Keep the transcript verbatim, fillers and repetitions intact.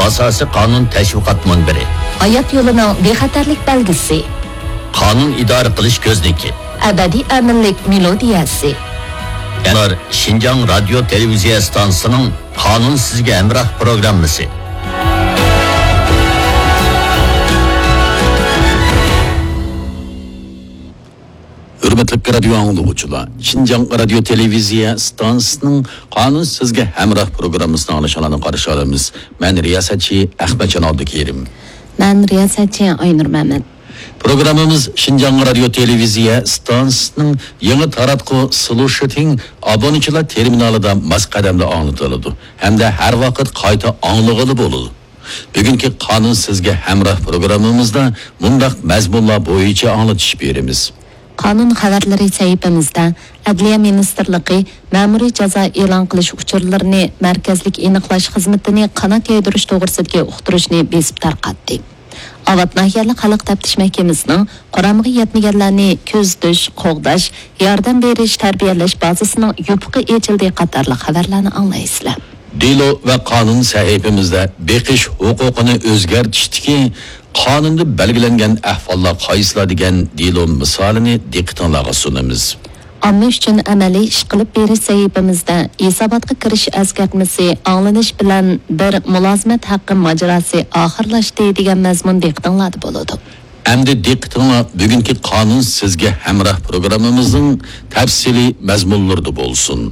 ئاساسىي قانۇن تەشۋىقات مۇنبىرى. ھايات يولىنىڭ بىخەتەرلىك بەلگىسى. قانۇن ئىدارە قىلىش كۆزنىكى. ئەبەدىي ئەمىنلىك مېلودىيەسى. ئۇلار شىنجاڭ رادىيو تېلېۋىزىيە ئىستانسىسىنىڭ قانۇن سىزگە ھەمراھ پروگراممىسى. ھۆرمەتلىك رادىيو ئاڭلىغۇچىلار، شىنجاڭ رادىيو تېلېۋىزىيە ئىستانسىسىنىڭ قانۇن سىزگە ھەمراھ پروگراممىسىنى ئاڭلىشىڭلارنى قارشى ئالىمىز. مەن رىياسەتچى ئەخمەتجان ئابدۇكېرىم. مەن رىياسەتچى ئاينۇر مەمەت. پروگراممىمىز شىنجاڭ رادىيو تېلېۋىزىيە ئىستانسىسىنىڭ يېڭى تاراتقۇ سلۇشىتىڭ ئابۇنىچىلار تېرمىنالىدا ماس قەدەمدە ئاڭلىتىلىدۇ ھەمدە ھەر ۋاقىت قايتا ئاڭلىغىلى بولىدۇ. بۈگۈنكى قانۇن سىزگە ھەمراھ پروگراممىمىزدا مۇنداق مەزمۇنلار بويىچە ئاڭلىتىش بېرىمىز. قانۇن خەۋەرلىرى سەھىپىمىزدە ئەدلىيە مىنىستىرلىقى مەمۇرىي جازا ئېلان قىلىش ئۇچۇرلىرىنى مەركەزلىك ئېنىقلاش خىزمىتىنى قانات يايدۇرۇش توغرىسىدىكى ئۇقتۇرۇشنى بېسىپ تارقاتتى. ئاۋات ناھىيەلىك خەلق تەپتىش مەھكىمىسىنىڭ قۇرامىغا يەتمىگەنلەرنى كۆزىتىش، قوغداش، ياردەم بېرىش، تەربىيەلەش بازىسىنىڭ يوپۇقى ئېچىلدى قاتارلىق خەۋەرلەرنى ئاڭلايسىلەر. دېلو ۋە قانۇن سەھىپىمىزدە بېقىش ھوقۇقىنى ئۆزگەرتىشتىكى قانۇندا بەلگىلەنگەن ئەھۋاللار قايسىلار دېگەن دېلو مىسالىنى دىققىتىڭلارغا سۇنىمىز. ئامما ئۈچۈن ئەمەلىي ئىش قىلىپ بېرىش سەھىپىمىزدە ھېساباتقا كىرىش ئەسكەرتمىسى ئاڭلىنىش بىلەن بىر مۇلازىمەت ھەققى ماجىراسى ئاخىرلاشتى دېگەن مەزمۇن دىققىتىڭلاردا بولىدۇ. ئەمدى دىققىتىڭلار بۈگۈنكى قانۇن سىزگە ھەمراھ پروگراممىمىزنىڭ تەپسىلىي مەزمۇنلىرىدا بولسۇن.